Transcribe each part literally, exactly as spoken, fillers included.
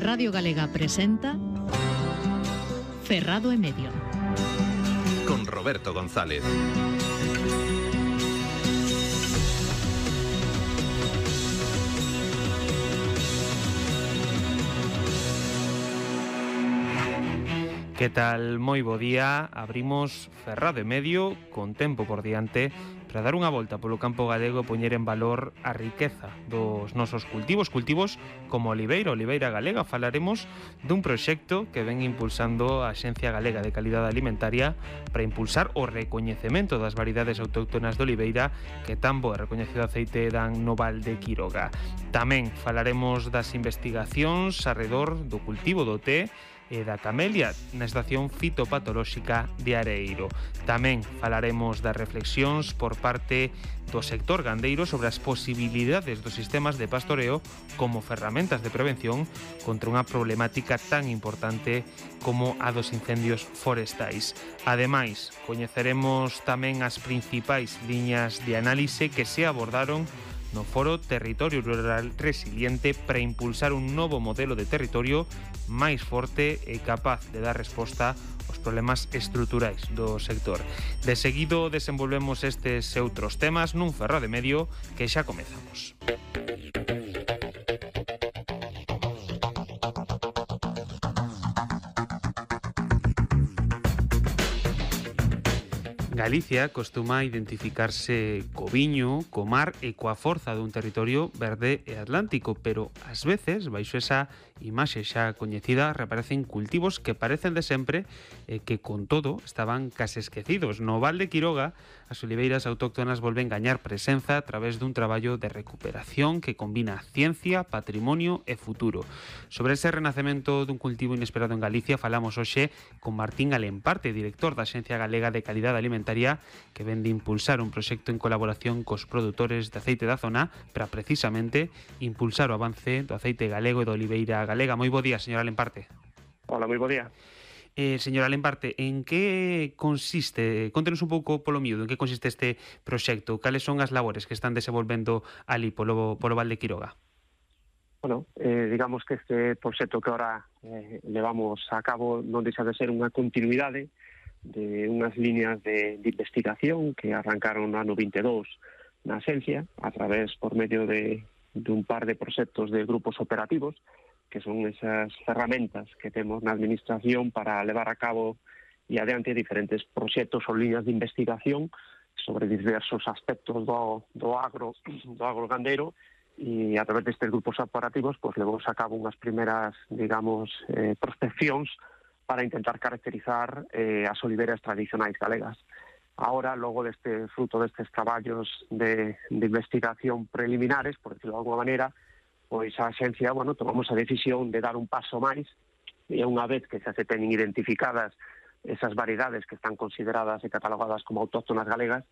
Radio Galega presenta Ferrado e Medio con Roberto González. Que tal? Moi bo día. Abrimos Ferrado e Medio con tempo por diante para dar unha volta polo campo galego e poñer en valor a riqueza dos nosos cultivos, cultivos como oliveira, oliveira galega. Falaremos dun proxecto que ven impulsando a Axencia Galega de Calidade Alimentaria para impulsar o recoñecemento das variedades autóctonas de oliveira que tan bo e recoñecido aceite dan no Val de Quiroga. Tamén falaremos das investigacións arredor do cultivo do té e da camelia na estación fitopatolóxica de Areiro. Tamén falaremos das reflexións por parte do sector gandeiro sobre as posibilidades dos sistemas de pastoreo como ferramentas de prevención contra unha problemática tan importante como a dos incendios forestais. Ademais, coñeceremos tamén as principais liñas de análise que se abordaron no Foro Territorio Rural Resiliente para impulsar un novo modelo de territorio máis forte e capaz de dar resposta aos problemas estruturais do sector. De seguido desenvolvemos estes e outros temas nun Ferrado e Medio que xa comezamos. Galicia costuma identificarse co viño, co mar e coa forza dun territorio verde e atlántico, pero ás veces, baixo esa imaxe xa coñecida, reaparecen cultivos que parecen de sempre e que, con todo, estaban case esquecidos. No Val de Quiroga, as oliveiras autóctonas volven gañar presenza a través dun traballo de recuperación que combina ciencia, patrimonio e futuro. Sobre ese renacemento dun cultivo inesperado en Galicia falamos hoxe con Martín Alemparte, director da Axencia Galega de Calidade Alimentaria, que ven de impulsar un proxecto en colaboración cos produtores de aceite da zona para precisamente impulsar o avance do aceite galego e da oliveira galega. Moi bo día, señor Alemparte. Hola, moi bo día. Eh, señor Alemparte, en que consiste, contenos un pouco polo miúdo, en que consiste este proxecto? Cales son as labores que están desenvolvendo ali polo, polo Val de Quiroga? Bueno, eh, digamos que este proxecto que ahora eh, levamos a cabo non deixa de ser unha continuidade de unhas líneas de, de investigación que arrancaron no ano vinte e dous na Axencia a través por medio de, de un par de proxectos de grupos operativos que son esas ferramentas que temos na administración para levar a cabo e adiante diferentes proxectos ou líneas de investigación sobre diversos aspectos do, do agro do agro gandeiro, e a través destes grupos operativos pues, levamos a cabo unhas primeras, digamos, eh, prospeccións para intentar caracterizar eh, as oliveiras tradicionais galegas. Ahora, logo deste fruto destes traballos de, de investigación preliminares, por decirlo de alguma maneira, pois a Axencia, bueno, tomamos a decisión de dar un paso máis, e unha vez que xa se teñen identificadas esas variedades que están consideradas e catalogadas como autóctonas galegas,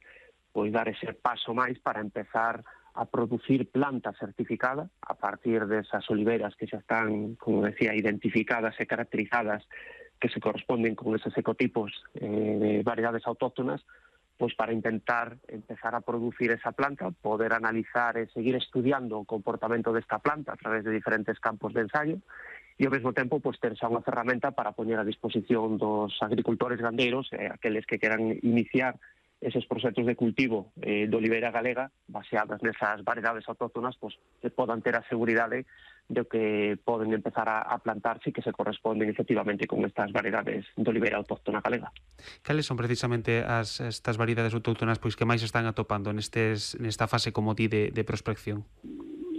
pois dar ese paso máis para empezar a producir planta certificada a partir desas oliveiras que xa están, como decía, identificadas e caracterizadas, que se corresponden con esos ecotipos eh, de variedades autóctonas, pois para intentar empezar a producir esa planta, poder analizar e seguir estudiando o comportamento desta planta a través de diferentes campos de ensayo, e ao mesmo tempo pois, ter xa unha ferramenta para poñer a disposición dos agricultores gandeiros e eh, aqueles que queran iniciar eses proxectos de cultivo eh, de oliveira galega baseadas nesas variedades autóctonas, pois que podan ter a seguridade de que poden empezar a, a plantarse e que se corresponden efectivamente con estas variedades de oliveira autóctona galega. Cales son precisamente as estas variedades autóctonas pois que máis están atopando nestes nesta fase como di de, de prospección?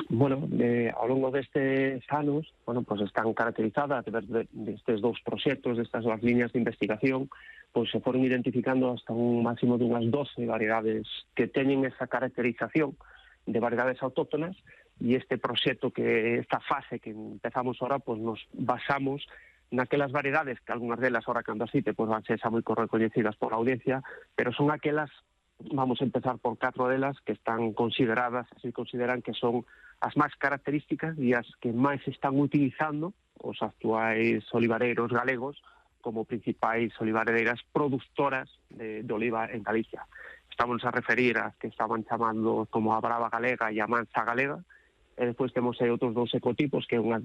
Bueno, eh, ao longo destes anos, bueno, pues están caracterizadas a través de, destes dous proxectos, destas dúas líneas de investigación, pois se foron identificando hasta un máximo de unhas doce variedades que teñen esa caracterización de variedades autóctonas, e este proxecto, que esta fase que empezamos ahora, pois nos basamos naquelas variedades que algunhas delas ahora cando así pois van ser xa moi recoñecidas por a audiencia, pero son aquelas, vamos a empezar por catro delas que están consideradas, se consideran que son as máis características e as que máis están utilizando os actuais olivareiros galegos como principais olivareiras produtoras de, de oliva en Galicia. Estamos a referir ás que estaban chamando como a Brava Galega e a Mansa Galega, e despois temos aí outros dous ecotipos, que é unha